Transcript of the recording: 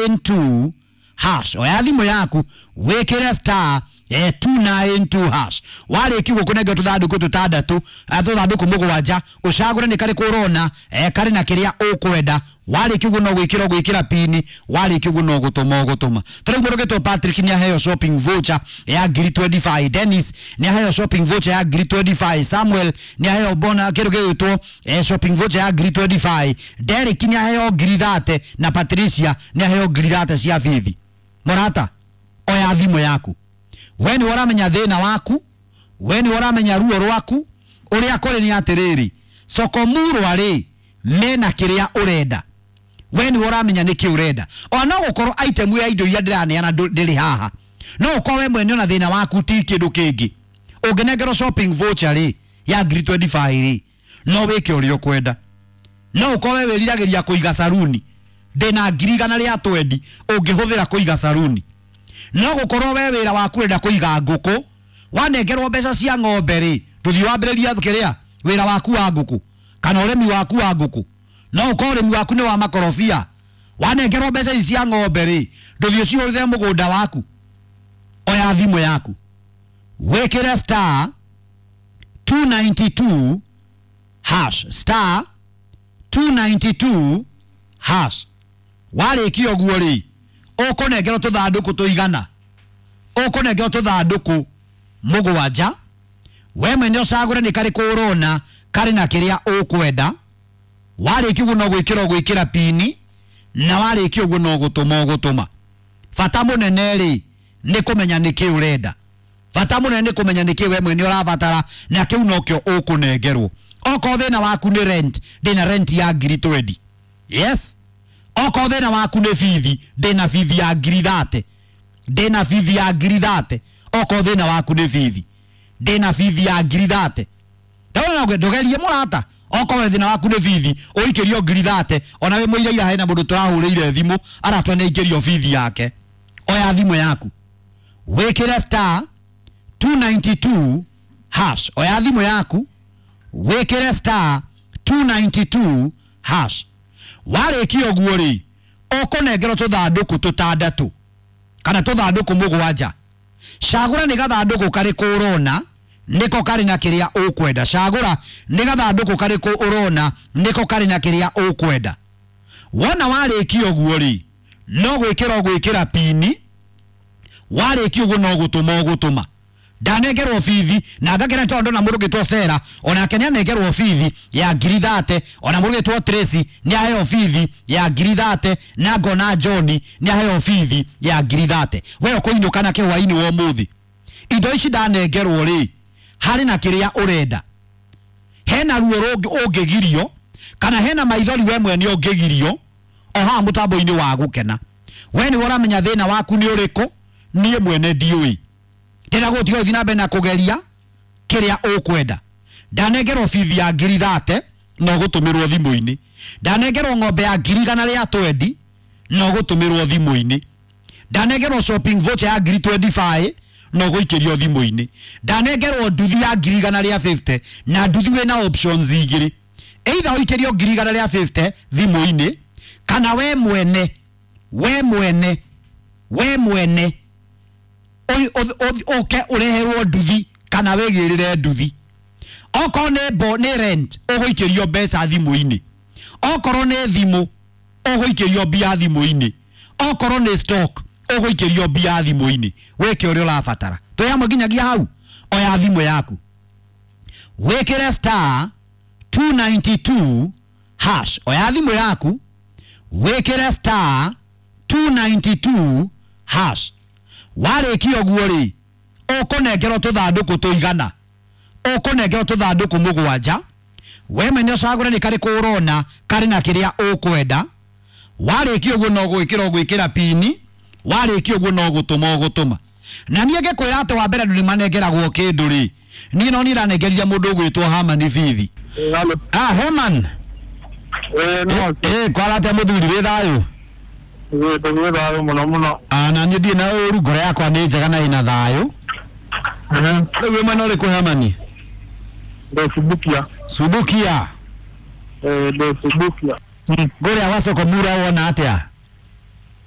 292 hash. Oya thimũ yaku wĩkĩre star 292 hash. Warĩkia ũguo kũnengera tũthandũkũ tũtandatũ, tũthandũkũ mũgwanja, ũcagũre nĩ karĩkũ ũrona karĩ na kĩrĩa ũkwenda. Warĩkia ũguo no gwĩkĩra ũgwĩkĩra pini, warĩkia ũguo no gũtũma ũgũtũma. Tarĩu mũndũ ũgĩtwo Patrick nĩ aheo shopping voucher ya ngiri 25, Dennis nĩ aheo shopping voucher ya ngiri 25, Samuel nĩ aheo bona kĩndũ gĩgwĩtwo shopping voucher ya ngiri 25, Derek nĩ aheo ngiri 30 na Patricia nĩ aheo ngiri 30 cia bithi. Mũrata, oya thimũ yaku. We nĩ ũramenya thĩna waku, we nĩ ũramenya ruo rwaku, ũrĩa kũrĩ nĩ atĩrĩrĩ, Sokomurwa rĩ mena kĩrĩa ũrenda. We nĩ ũramenya nĩkĩ ũrenda. Ona no gũkorwo item ya indo iria ndĩraneana ndĩrĩ haha, no ũkorwo we mwene ona thĩna waku ti kĩndũ kĩngĩ. Ũngĩnengerwo shopping voucher rĩ ya ngiri 25 rĩ, no wĩke ũrĩa ũkwenda. No ũkorwo we wĩriragĩria kũiga saruni, ndĩna ngiri igana rĩa twendi ũngĩhũthĩra kũiga saruni. No gũkorwo we wĩra waku ũrenda kũiga ngũkũ, wanengerwo mbeca cia ng'ombe rĩ, ndũthiĩ wambĩrĩria kĩrĩa wĩra waku wa ngũkũ kana ũrĩmi waku wa ngũkũ. No ũkorwo ũrĩmi waku nĩ wa makorobia, wanengerwo mbeca ici cia ng'ombe rĩ, ndũthiĩ ũcihũthĩre mũgũnda waku. Oya thimũ yaku wĩkĩre star 292 hash, star 292 hash. Warĩkia ũguo rĩ, ũkũnengerwo tũthandũkũ tũigana, ũkũnengerwo tũthandũkũ mũgwanja. We mwene ũcagũre nĩ karĩkũ ũrona karĩ na kĩrĩa ũkwenda. Warĩkia ũguo no gwĩkĩra ũgwĩkĩra pini, na warĩkia ũguo no gũtũma ũgũtũma. Bata mũnene rĩ nĩ kũmenya nĩkĩ ũrenda. Bata mũnene nĩ kũmenya nĩkĩ we mwene ũrabatara, na kĩu nokĩo ũkũnengerwo. Okorwo thĩna waku nĩ rent, ndĩna rent ya ngiri 20. Yes. Okorwo thĩna waku nĩ bithi, ndĩna bithi ya ngiri 30. Ndĩna bithi ya ngiri 30. Okorwo thĩna waku nĩ bithi, ndĩna bithi ya ngiri 30. Ndona ndũgerie mũrata. Okorwo thĩna waku nĩ bithi, ũikĩrio ngiri 30. Ona wĩ mũira hena mũndũ tũrahũrĩire thimũ aratwa nĩ aikĩrio bithi yake. Oya thimũ yaku wĩkĩre star 292 hash. Oya thimũ yaku wĩkĩre star 292 hash. Warĩkia ũguo rĩ, ũkũnengerwo tũthandũkũ tũtandatũ kana tũthandũkũ mũgwanja. Cagũra nĩ gathandũkũ karĩkũ ũrona nĩko karĩ na kĩrĩa ũkwenda. Cagũra nĩ gathandũkũ karĩkũ ũrona nĩko karĩ na kĩrĩa ũkwenda. Wona warĩkia ũguo rĩ, no gwĩkĩra ũgwĩkĩra pini, warĩkia ũguo no gũtũma ũgũtũma. Ndanengerwo bithi na ngakena tondũ na mũndũ ũgĩtwo Sera onake nĩ anengerwo bithi ya ngiri 30, ona mũndũ ũgĩtwo Tracy nĩ aheo bithi ya ngiri 30, na ngona John nĩ aheo bithi ya ngiri 30. We ũkũinũka na kĩhwainĩ wa ũmũthĩ. Indo ici ndanengerwo rĩ, harĩ na kĩrĩa ũrenda. Hena ruo ũngĩgirio kana hena maithori we mwene ũngĩgirio o haha mũtambo-inĩ wa gũkena. We nĩwe ũramenya thĩna waku nĩ ũrĩkũ, niĩ mwene ndiũĩ. Ndĩra gũtiga ũthiĩ na mbere na kũgeria kĩrĩa ũkwenda. Ndanengerwo bithi ya ngiri 30 no gũtũmĩrwo thimũ-inĩ. Ndanengerwo ng'ombe ya ngiri igana rĩa 20 no gũtũmĩrwo thimũ-inĩ. Ndanengerwo shopping voucher ya ngiri 25 no gũikĩrio thimũ-inĩ. Ndanengerwo nduthi ya ngiri igana rĩa 50 na nduthi wĩna options igĩrĩ. Either ũikĩrio ngiri igana rĩa 50 thimũ-inĩ kana we mwene, we mwene, we mwene ũke ũreherwo nduthi kana wĩgĩrĩre nduthi. Okorwo nĩ bo nĩ rent ũgũikĩrio mbeca thimũ-inĩ. Okorwo nĩ thimũ ũgũikĩrio mbia thimũ-inĩ. Okorwo nĩ stock ũgũikĩrio mbia thimũ-inĩ. Wĩke ũrĩa ũrabatara. Twĩ hamwe nginyagia hau. Oya thimũ yaku wĩkĩre star 292 hash. Oya thimũ yaku wĩkĩre star 292 hash. Warĩkia ũguo rĩ, ũkũnengerwo tũthandũkũ tũigana, ũkũnengerwo tũthandũkũ mũgwanja. We mwene ũcagũre nĩ karĩkũ ũrona karĩ na kĩrĩa ũkwenda. Warĩkia ũguo no gwĩkĩra ũgwĩkĩra pini, warĩkia ũguo no gũtũma ũgũtũma. Na niĩ ngĩkwĩra atĩ wa mbere andũ nĩ manengeragwo kĩndũ rĩ, niĩ no niĩ ndanengerire mũndũ ũgwĩtwo Herman bithi. Halo. Ah, Herman. No. Kwara atĩa mũthuri, wĩ thayũ? Tũgĩ thayũ mũno mũno. Ah, na niĩ ndirĩ na ũru, ngoro yakwa nĩ njega na ĩna thayũ. Rĩu wĩ mwena ũrĩkũ Herman? Ndĩ Subukia. Ndĩ Subukia. Ngũrĩa wa Sokomura wona atĩa?